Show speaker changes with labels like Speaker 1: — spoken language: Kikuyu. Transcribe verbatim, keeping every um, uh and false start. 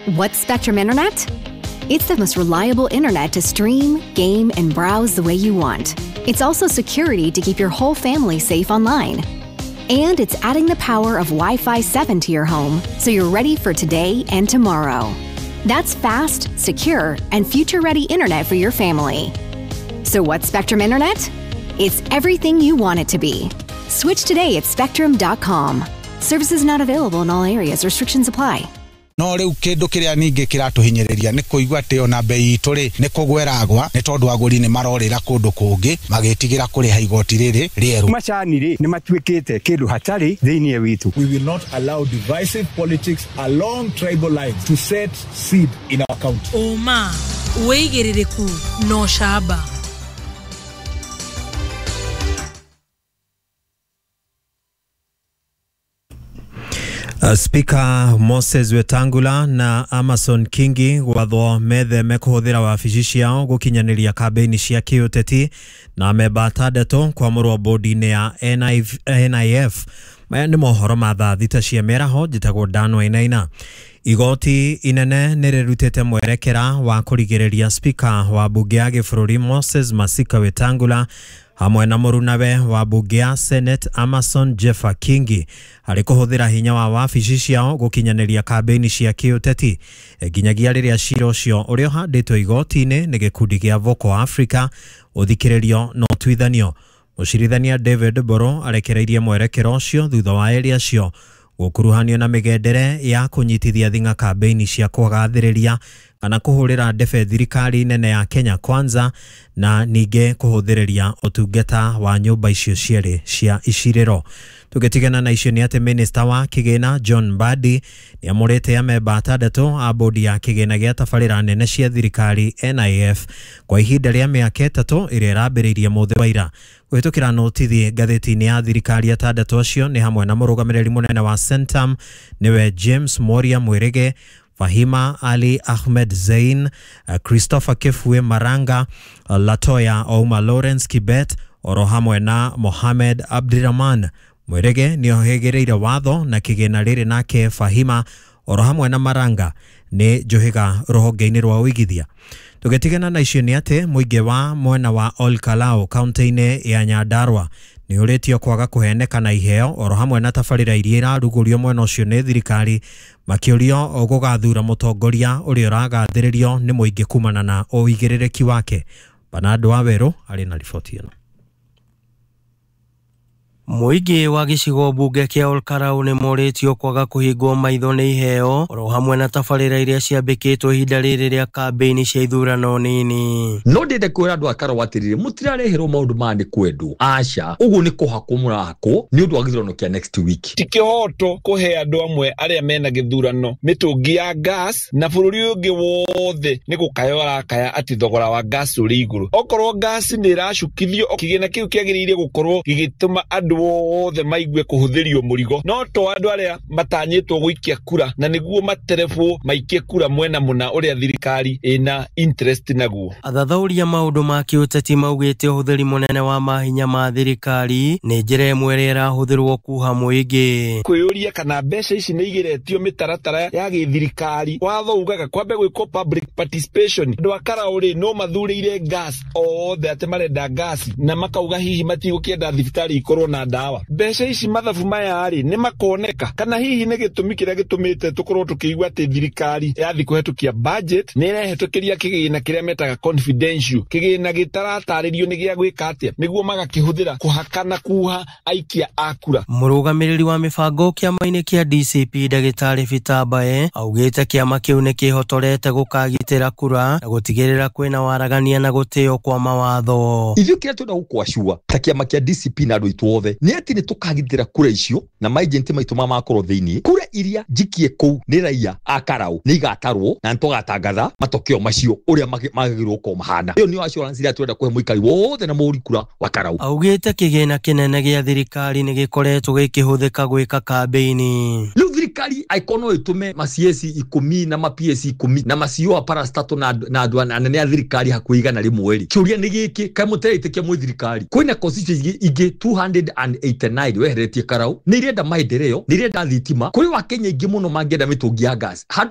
Speaker 1: What's Spectrum Internet? It's the most reliable internet to stream, game, and browse the way you want. It's also security to keep your whole family safe online. And it's adding the power of Wi-Fi seven to your home so you're ready for today and tomorrow. That's fast, secure, and future-ready internet for your family. So what's Spectrum Internet? It's everything you want it to be. Switch today at spectrum dot com. Services not available in all areas. Restrictions apply.
Speaker 2: No riu kindu kiria ningi kiratuhinyiriria ni kuigua ati ona bei itu ri ni kugweragwa ni tondu aguri ni marorira kundu kungi magitigira kuriha igoti riri rieru.
Speaker 3: Macani ri ni matuikite kindu hatari thiini witu.
Speaker 4: We will not allow divisive politics along tribal lines to set seed in our county.
Speaker 5: Uma wigiririku no shaba.
Speaker 6: Speaker Moses Wetangula na Amason Kingi gwathwo metheme kuhuthira wabici ciao gukinyaniria kambeni cia kiuteti na memba atandatũ kwamũrwo bodi-inĩ ya N I F. Maya nĩ mohoro ma thaa thita cia mĩaraho. Njĩtagwo Dan Wainaina. Igoti inene nĩrĩrutĩte mwerekera wa kũrigĩrĩria Speaker wa bunge ya gĩbũrũri Moses Masika Wetangula hamwe na mũrunawe wa bunge ya Senate Amason Jeffa Kingi harĩ kũhũthĩra hinya wa wabici ciao gũkinyanĩria kambeni cia kĩũteti nginyagia rĩrĩa cira ũcio ũrĩa ũhandĩtwo igoti-inĩ nĩ gĩkundi kĩa Vocal Africa ũthikĩrĩrio na ũtuithanio. Mũcirithania David Mboro arekereirie mwerekero ũcio thutha wa erĩ acio gũkuruhanio na mĩgendere ya kũnyitithia thing'a kambeni cia kũgathĩrĩria kana kũhũrĩra ndebe thirikari nene ya Kenya Kwanza na ningĩ kũhũthĩrĩria ũtungata wa nyũmba icio cierĩ cia icirĩro. Tũgĩtigana na icio nĩ atĩ Minister wa Kĩgĩna John Mbadi nĩamũrĩte amemba atandatũ a bodi ya kĩgĩna gĩa tabarĩra nene cia thirikari N I F kwa ihinda rĩa mĩaka ĩtatũ ĩrĩa ĩrambĩrĩirie mũthĩ wa ira. Kũhĩtũkĩra notithi ngathĩti-inĩ ya thirikari atandatũ acio nĩ hamwe na mũrũgamĩrĩri mũnene wa Centum nĩwe James Moria Mwirige, Fahima Ali Ahmed Zain, Christopher Kefue Maranga, Latoya Ouma Lawrence Kibet oro hamwe na Mohamed Abdirahman. Mwirige nĩohĩgĩrĩire watho na kĩgĩna rĩrĩ nake Fahima oro hamwe na Maranga nĩ njohiga rũhonge-inĩ rwa ũigithia. Tũgĩtigana na icio nĩ atĩ mũingĩ wa mwena wa Ol Kalou kaunti-inĩ ya Nyandarua nĩũrĩtio kwaga kũheneka na iheo oro hamwe na tabarĩra iria irarugũrio mwena ũcio nĩ thirikari makĩũrio gũgathura mũtongoria ũrĩa ũragathĩrĩrio nĩ mũingĩ kumana na ũigĩrĩrĩki wake. Bernard Wawerũ arĩ na riboti ĩno.
Speaker 7: Mũingĩ wa gĩcigo mbunge kĩa Ol Kalou nĩ morĩtio kwaga kũhingwo maitho nĩ iheo oro hamwe na tabarĩra iria ciambĩkĩtwo ihinda rĩrĩ rĩa kambĩini cia ithurano nini.
Speaker 8: No ndĩende kwĩra andũ a Karau atĩrĩrĩ, mũtirareherwo maũndũ maya nĩ kwendwo, aca, ũguo nĩ kũhakwo mũrahakwo nĩ ũndũ wa gĩthurano kĩa next week.
Speaker 9: Ti kĩhoto kũhe andũ amwe arĩa mena gĩthurano mĩtũngi ya gas na bũrũri ũyũ ũngĩ wothe nĩ gũkaya ũrakaya atĩ thogora wa gas ũrĩ igũrũ. Okorwo gas nĩ ĩracukithio, kĩgĩna kĩu kĩagĩrĩire gũkorwo gĩgĩtũma andũ othe maigue kũhũthĩrio mũrigo, no to andũ arĩa matanyĩtwo gũikia kura na nĩguo materebwo maikie kura mwena mũna ũrĩa thirikari ĩna interest naguo.
Speaker 7: Athathaũria maũndũ ma kĩũteti maugĩte ũhũthĩri mũnene wa mahinya ma thirikari nĩ njĩra ĩmwe ĩrĩa ĩrahũthĩrwo kuha mũingĩ.
Speaker 9: Kwĩyũria kana mbeca ici nĩ igeretio mĩtaratara ya gĩthirikari. Watho ugaga kwambe gwĩkwo public participation. Andũ a Karau rĩ no mathurĩire gas othe atĩ marenda gas na makauga hihi matigũkĩenda thibitarĩ ikorwo na ndawa. Mbeca ici mathabu maya rĩ nĩ makoneka kana hihi nĩ gĩtũmi kĩrĩa gĩtũmĩte tũkorwo tũkĩigua atĩ thirikari yathi kũhetũkia budget nĩ ĩrehetũkĩria kĩgĩna kĩrĩa metaga confidential, kĩgĩna gĩtaratarĩrio nĩ gĩa gwĩka atĩa nĩguo magakĩhũthĩra kũhakana kuha aikia a kura.
Speaker 7: Mũrũgamĩrĩri wa mĩbango kĩama-inĩ kĩa D C P Ndagĩtarĩ Peter Mbae augĩte kĩama kĩu nĩ kĩhotorete gũkagitĩra kura na gũtigĩrĩra kwĩna waragania na gũtĩo kwa mawatho.
Speaker 8: Ithuĩ kĩrĩa twenda gũkwacua ta kĩama kĩa D C P na andũ aitũ othe nĩ atĩ nĩ tũkagitĩra kura icio na maijenti maitũ ma makorwo thĩinĩ. Kura iria njikie kũu nĩ raia a Karau nĩ igatarwo na nĩtũgatangatha matokeo macio ũrĩa magĩrĩirwo gũkorwo mahana. Ĩyo nĩyo assurance ĩrĩa twenda kũhe mũikari wothe na mũhũri kura wa Karau.
Speaker 7: Augĩte kĩgĩna kĩnene gĩa thirikari nĩ gĩkoretwo gĩkĩhũthĩka gwĩka kambĩini.
Speaker 8: Rĩu thirikari angĩkorwo no ĩtũme ma C S ikũmi na ma P S ikũmi na ma C O a parastatal na andũ anene a thirikari hakuhĩ igana rĩmwe rĩ, kĩũria nĩ gĩkĩ, kaĩ mũtaretĩkia mwĩ thirikari? Kwĩna constituency ingĩ two hundred and eighty-nine weheretie Karau nĩ irenda maendeleo, nĩ irenda thitima. Kũrĩ wa Kenya aingĩ mũno mangĩenda mĩtũngi ya gas. Handũ